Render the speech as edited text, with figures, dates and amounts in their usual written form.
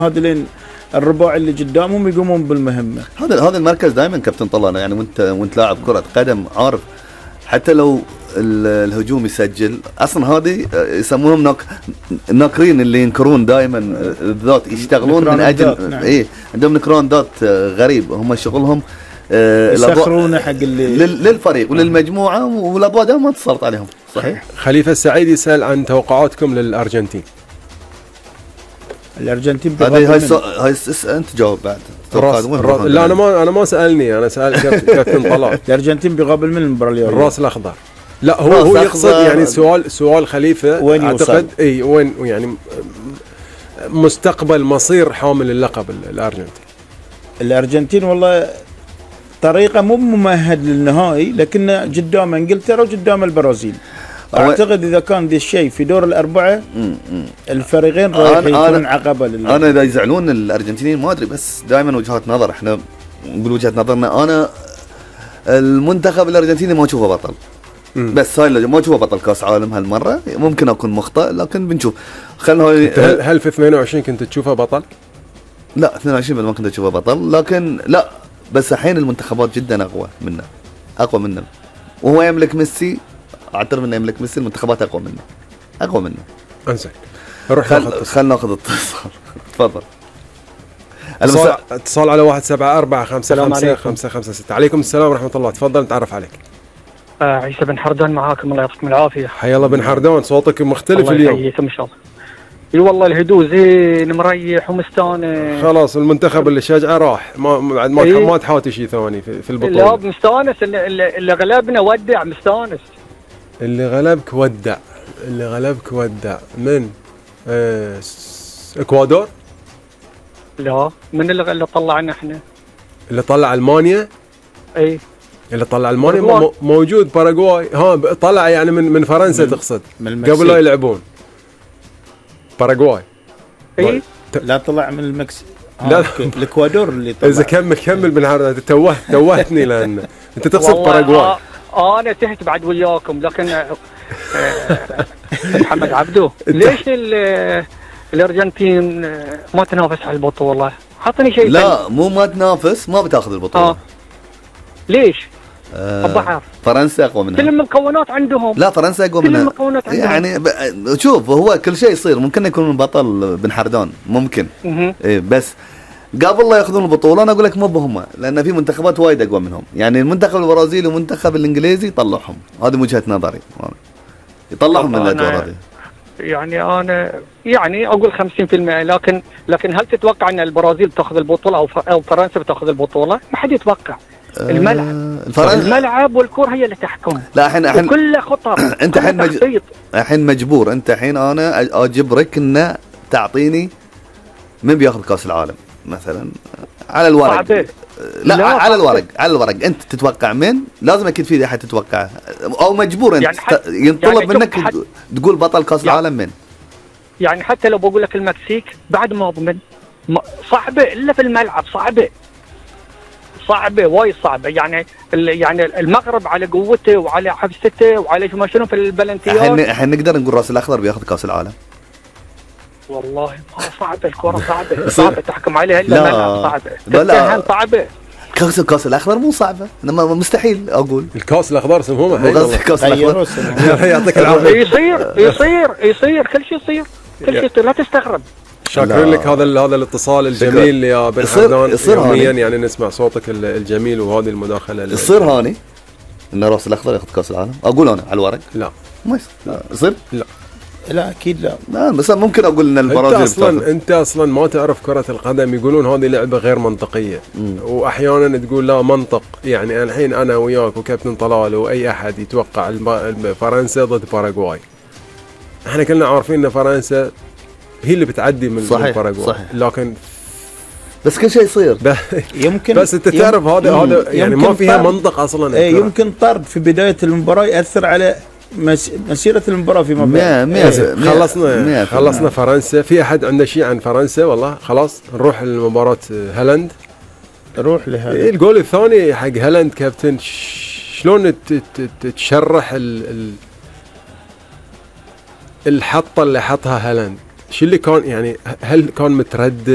هذين الرباع اللي قدامهم يقومون بالمهمه. هذا المركز دائما كابتن طلال، يعني وانت لاعب كره قدم عارف، حتى لو الهجوم يسجل اصلا هذه يسمونهم ناكرين، اللي ينكرون دائما الذات، يشتغلون من اجل نعم. ايه، عندهم نكران ذات غريب، هم شغلهم يسخرونه حق للفريق وللمجموعه، والاضواء دائما ما تسلط عليهم. صحيح. خليفه السعيد يسال عن توقعاتكم للارجنتين. الارجنتين هاي انت جاوب بعد. لا انا ما سالني، انا سال كابتن طلال. الارجنتين بيقابل من المباراه اليوم؟ الراس الاخضر. لا هو يقصد يعني سؤال خليفه وين اعتقد اي وين يعني مستقبل مصير حامل اللقب الارجنتين والله طريقه مو ممهد للنهائي، لكن قدام انجلترا وقدام البرازيل. اعتقد اذا كان ذا الشيء في دور الاربعه الفريقين رايح يكون عقبه انا اذا يزعلون الارجنتينيين ما ادري، بس دائما وجهات نظر، احنا نقول وجهه نظرنا. انا المنتخب الارجنتيني ما اشوفه بطل، بس هاي ما اشوفه بطل كاس عالم هالمره، ممكن اكون مخطئ لكن بنشوف. خلينا هل في 22 كنت تشوفه بطل؟ لا 22 ما كنت اشوفه بطل، لكن لا، بس الحين المنتخبات جدا اقوى منه وهو يملك ميسي. اعترف انه يملك ميسي، المنتخبات اقوى منه. انزين نروح خلنا ناخذ اتصال. تفضل. اتصال على 174555556. عليكم السلام ورحمه الله، تفضل نتعرف عليك. عيسى بن حردان معاكم، الله يعطيكم العافيه. حيا الله بن حردان، صوتك مختلف اليوم. الله يحييكم ان شاء الله. اي والله الهدوء زين، مريح ومستانس. خلاص المنتخب اللي شجعه راح، ما تحاتي شيء ثاني في البطوله. لا مستانس، اللي غلبنا ودع، مستانس. اللي غلبك ودع من اكوادور؟ لا، من اللي طلعنا احنا؟ اللي طلع المانيا؟ اي اللي طلع المانيا موجود باراغواي. طلع يعني من فرنسا تقصد؟ قبل لا يلعبون باراغواي. اي لا طلع من المكسيك. لا الاكوادور اللي طلع. اذا كمل من هذا توهتني لان انت تقصد باراغواي. انا تهت بعد وياكم، لكن محمد عبدو ليش الارجنتين ما تنافس على البطوله؟ حطني شيء. لا مو ما تنافس، ما بتاخذ البطوله. ليش؟ أعرف. فرنسا اقوى منها. كل المكونات عندهم. لا فرنسا اقوى منها. كل المكونات عندهم. يعني شوف، هو كل شيء يصير، ممكن يكون بطل بن حردان، ممكن. إيه بس قبل لا ياخذون البطوله انا اقول لك مو بهم، لان في منتخبات وايد اقوى منهم، يعني المنتخب البرازيلي والمنتخب الانجليزي يطلعهم، هذه وجهه نظري، يطلعهم من الادوار هذه. يعني انا اقول 50%، لكن هل تتوقع ان البرازيل بتاخذ البطوله او فرنسا بتاخذ البطوله؟ ما حد يتوقع. الملعب والكره هي اللي تحكم. لا الحين كله خطر. انت الحين مجبور، انت الحين انا اجبرك ان تعطيني من بياخذ كاس العالم مثلا على الورق. صعبة. لا على الورق انت تتوقع من؟ لازم اكيد في احد تتوقعه، او مجبور انت ينطلب منك تقول بطل كاس العالم من. يعني حتى لو بقول لك المكسيك بعد ما اضمن، صعبه الا في الملعب، صعبه وايد صعبه. يعني المغرب على قوته وعلى حفزته وعلى ما شنو في البلنتيات. الحين نقدر نقول راس الاخضر بياخذ كاس العالم. والله ما صعبه الكره، صعبه تحكم عليها الا الملعب، صعبه صعبه. كاس الاخضر مو صعبه، مستحيل اقول. الكاس الاخضر سموه كاس الاخضر. يعطيك العافيه. يصير كل شيء يصير، لا تستغرب. شاكرين لك هذا الاتصال الجميل يا بن حردان. يوميا يعني نسمع صوتك الجميل وهذه المداخله. يصير هاني ان راس الاخضر ياخذ كاس العالم؟ اقول انا على الورق لا ما يصير. لا اكيد لا بس ممكن اقول ان البرازيل انت اصلا ما تعرف كره القدم، يقولون هذه لعبه غير منطقيه. واحيانا تقول لا منطق. يعني الحين انا وياك وكابتن طلال واي احد يتوقع فرنسا ضد باراغواي، احنا كلنا عارفين ان فرنسا هي اللي بتعدي من باراغواي، لكن بس كل شيء يصير. يمكن بس انت تعرف هذا يعني ما فيها منطق اصلا. يمكن طرد في بدايه المباراه ياثر على مسيرة المباراة فيما بعد. خلصنا فرنسا. في أحد عنده شيء عن فرنسا؟ والله خلاص نروح لمباراة هالاند. نروح لهذا الجول الثاني حق هالاند. كابتن شلون تشرح الحطة اللي حطها هالاند؟ شو اللي كان يعني هل كان متردد